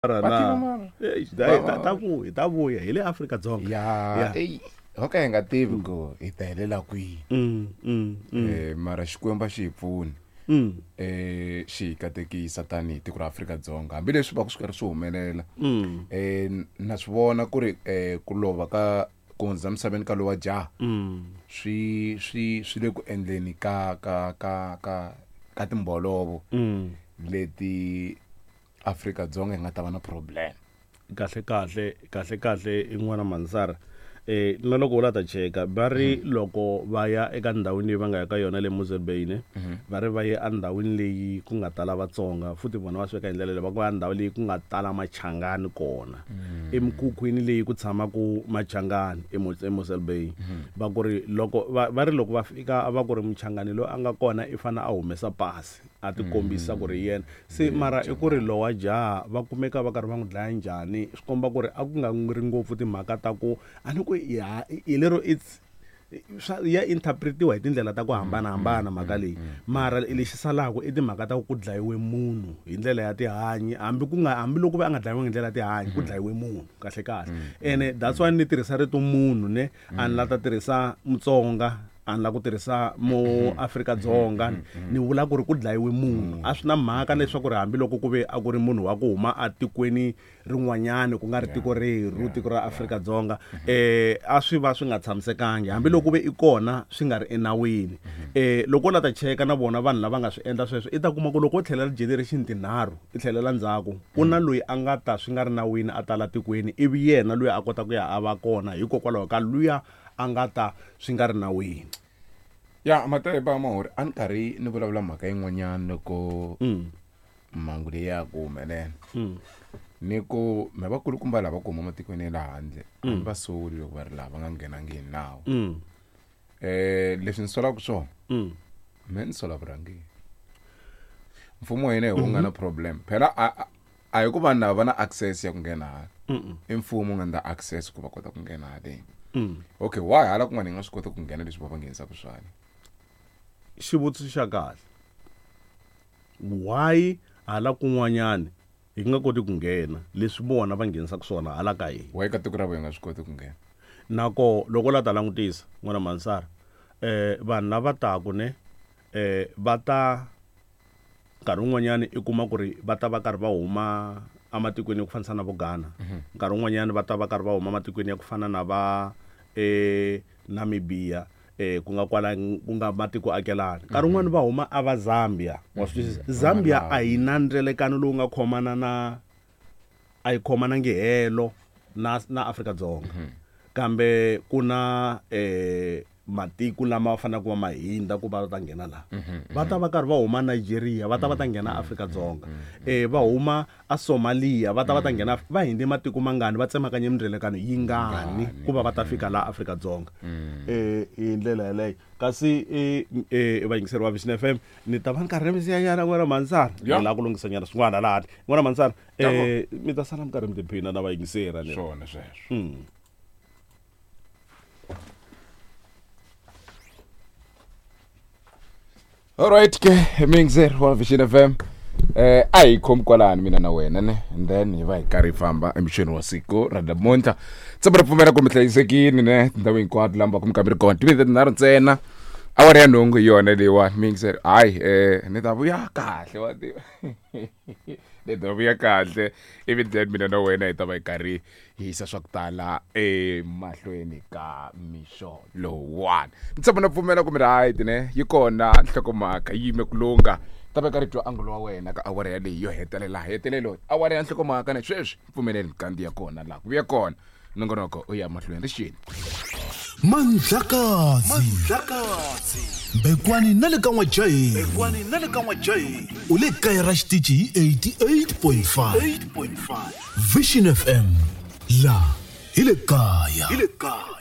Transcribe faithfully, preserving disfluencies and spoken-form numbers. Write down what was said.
Na ta vuya ta vuya hi le Afrika-Dzonga. Ya eyi ho ka hi nga tivi ku hi ta helela kwihi. Mm, mm, mm. Eh, mara Xikwembu a xi hi pfuni. Mm. Eh, xi hi katekisa tanihi tiko ra Afrika-Dzonga hambileswi va ku swi karhi swi humelela. Mm. Eh, na swi vona ku ri eh, ku lova ka ku hundza emisaveni ka lowa jaha Mm. swi swi swi le ku endleni ka ka ka ka ka timbolovo Mm. leti Afrika-Dzonga yi nga ta va na problem. Kahle kahle kahle kahle i n'wana Mansara eh na loko u la ta cheka va ri loko va ya eka ndhawini leyi va nga ya ka yona le Mosel Bay ne va ri va ye endhawini leyi ku nga tala Vatsonga futhi vona va swi veka hi ndlela leyi va ku ya ndhawu leyi ku nga tala Machangani kona emikhukhwini leyi ku tshamaka Machangani eMosel Bay va ku ri loko va va ri loko va fika va ku ri Muchangani loyi a nga kona i fane a humesa pasi a ti kombisa ku ri yena se mara i ku ri lowa jaha va kumeka va karhi va n'wi dlaya njhani swi komba ku ri a ku nga ri ngopfu timhaka ta ku a ni ku ya hi lero it's swa ya interpretiwa hi tindlela ta ku hambanahambana mhaka leyi mara lexi salaka i timhaka ta ku ku dlayiwe munhu hi ndlela ya tihanyi hambi ku nga hambiloko va a nga dlayiwangi hi ndlela ya tihanyi ku dlayiwe munhu kahle kahle ene that's why ni tirhisa rito munhu ne a ni la ta tirhisa Mutsonga a ni la ku tirhisa mo Afrika-Dzonga ni vula ku ri ku dlayiwe munhu a swi na mhaka leswaku ri hambiloko ku ve a ku ri munhu wa ku huma atikweni rin'wanyani ku nga ri tiko rerhu tiko ra Afrika-Dzonga eh a swi va swi nga tshamisekangi hambiloko ku ve i kona swi nga ri enawini eh loko u la ta cheka na vona vanhu lava nga swi endla sweswo i ta kuma ku loko u tlhelela generation tinharhu i tlhelela ndzhaku ku na loyi a nga ta swi nga ri nawini a tala tikweni ivi yena loyi a kota ku ya a va kona hikokwalaho ka luya a nga ta swi nga ri nawini. Ya Mateba Mahuri a ni karhi ni vulavula mhaka yin'wanyana loko Mm. mhangu leyi ya ku humelela. Mm. Ni ku me vakulukumba lava ku huma matikweni ya le handle a ni va soli loko va ri laha va nga nghenangi hi nawu. Mm. Eh leswi ni solaka swona Mm. me ni sola vurhangeri. Mfumo wa hina hi wu nga na problem phela a a- a hi ku vanhu lava va na access ya ku nghena hala. Mm. I mfumo wu nga endla access ku va kota ku nghena haleni. Mm. Okay why hala kun'wana hi nga swi koti ku nghena leswi va va nghenisaka swona. Xivutiso xa kahle. Why hala kun'wanyani hi nga koti ku nghena leswi vona va nghenisaka swona hala ka hina. Why ka tiko ra vo hi nga swi koti ku nghena. Nako loko la ta langutisa n'wana Mansara eh vanhu lava taku ne eh va ta nkarhi wun'wanyani i kuma ku ri va ta va karhi va huma ematikweni ya ku fanisa na vo Ghana nkarhi wun'wanyani va ta va karhi va huma ematikweni ya ku fana na va eh Namibia eh ku nga kwala ku nga matiko akelani nkarhi wun'wani va huma a va Zambia wa swi twisisa Zambia a yi na ndzelekano lowu nga khomana na a yi khomanangi helo na na Afrika-Dzonga kambe ku na eh matiko lama faneleke va ma hindza ku va ta nghena laha va ta va karhi va huma Nigeria va ta va ta nghena Afrika-Dzonga eh va huma a Somalia va ta va ta nghena va hindze matiko mangani va tsemakanye mindzelekano yingani ku va va ta fika laha Afrika-Dzonga eh hi ndlela yeleyo kasi eh eh vayingiseri va Vision F M ni ta va ni karhi ni siyanyana n'wana Mansara Ya. ni lava ku lunghisanyana swin'wana lahani n'wana Mansara eh mi ta sala mi karhi mi tiphina na vayingiseri ni Swona sweswo. Mm. Alright ke miyingiseri wa Vision F M eh a hi khomi kwalani mina na wena ne and then hi va hi karhi hi famba emixweni wa siku ra namuntlha tshemba ri pfumela ku mi hlayisekile ne tindhawu hinkwato laha mi va ku mi ka mi ri kona timinete tinharhu ntsena awara ya nhungu hi yona leyiwani miyingiseri hayi eh ni ta vuya kahle wa tiva ni ta vuya kahle ivi then mina na wena hi ta va hi karhi hi yisa swa ku tala emahlweni ka mixo lowuwani ni tshemba na pfumela ku mi right ne yi kona nhlokomhaka yi yime ku lungha ta va karhi twa angulo wa wena ka awara yaleyi yo hetelela hetelelo awara ya nhlokomhaka ne sweswi pfumeleli mikandziya ya kona laha ku vuya kona nongonoko u ya mahlweni rixini Mandlakazi Mbekwani na le ka N'wajaheni Mbekwani na le ka N'wajaheni u le kaya ra xitichi hi eighty-eight point five Vision F M la hi le kaya hi le kaya.